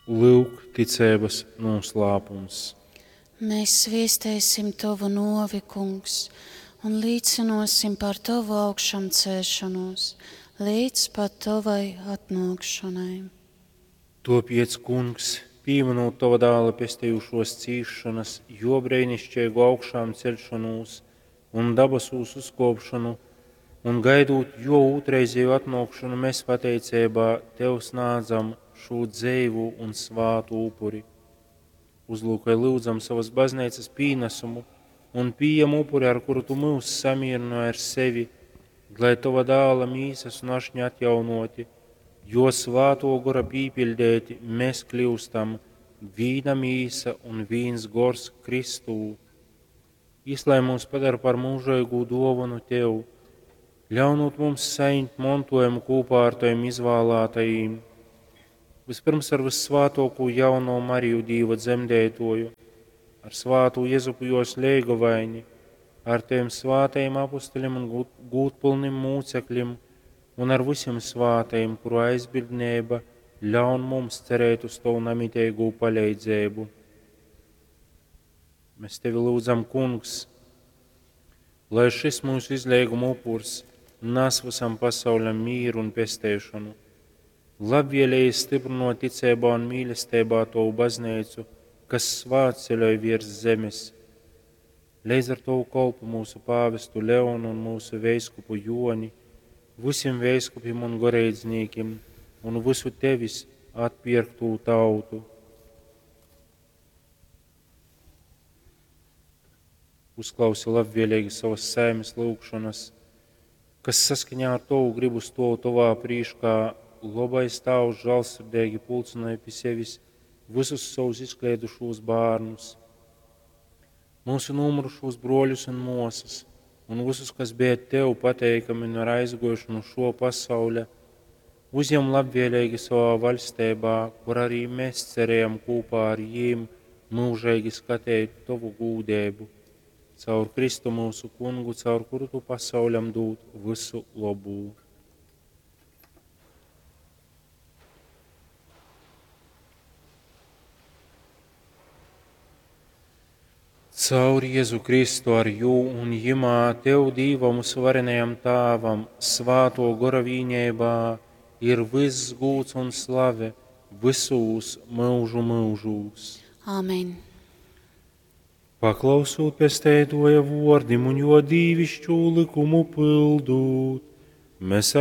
Lyuk, ticeibas nūslāpums. Mēs sviestēsim Tovu nuovi, Kungs, un līcynuosim par Tovu augšamcēšanos līdz pat Tovai atnuokšonai. Topiec, Kungs, pīminūt Tova dāla pestejušos cīšanas, jo breinišķeigu augšām ceļšanos un dabasūs uzkopšanu, un gaidūt jo ūtrreizēju atnākšanu, mēs pateicībā Tev snādzam šo dzeivu un svātu upuri. Uzlūkoj lūdzam savas baznīcas pīnesumu un pieņem upuri, ar kuru Tu mūs samierināji ar sevi, lai Tova dāla mīsas un ašņa atjaunoti, jo svāto gora pīpildēti mēs kļūstam vīna mīsa un vīns gors Kristū. Jis, lai mūs padara par mūžīgu dāvanu Tev, ļaunot mums saņemt mantojumu kopā ar Taviem izvēlētajiem, vispirms ar vissvātāko jauno Mariju Dīva dzemdētoju, ar svātu Jezupu jos leigovaini, ar Taviem svātajiem apustuļiem un gūtpilnim mūcekļiem, un ar visiem svātajiem, kuru aizbildnība ļaun mums cerēt uz Tavu namitīgo palīdzību. Mēs Tevi lūdzam, Kungs, lai šis mūsu izlieguma upurs nes visam pasaulim mīru un pestēšanu. Labvēlīgi stiprinot ticībā un mīlestībā Tavu baznīcu, kas svētceļoj virs zemes. Līdz ar Tavu kolpu mūsu pāvestu Leonu un mūsu veiskupu Joni, visiem veiskupiem un goreidznīkiem un visu Tevis atpirktū tautu. Uzklausi labvēlīgi savas saimes lūgšanas, kas saskaņā ar Tavu gribu stov Tavā prīškā, labais Tēvs žēlsirdīgi pulcināja pie sevis visus savus izkliedušos bērnus, mūsu nomurušos broļus un mosas, un visus, kas bija Tev pateikami un ir aizgojuši no šo pasauļa, uzņem labvēlīgi savā valstībā, kur arī mēs cerējam kopā ar jiem mūžīgi skatīt Tavu gūdību. Caur Kristu mūsu kungu, caur kuru Tu pasauļam dod visu labu. Caur Jēzu Kristu ar jū un jimā Tev Dīvam varenajam Tāvam, svāto gora vīņībā, ir viss gūts un slave visūs mūžu mūžūs. Āmen. Paklausūt pestētoja vordim un jo dīvišķu likumu pildūt, mēs ar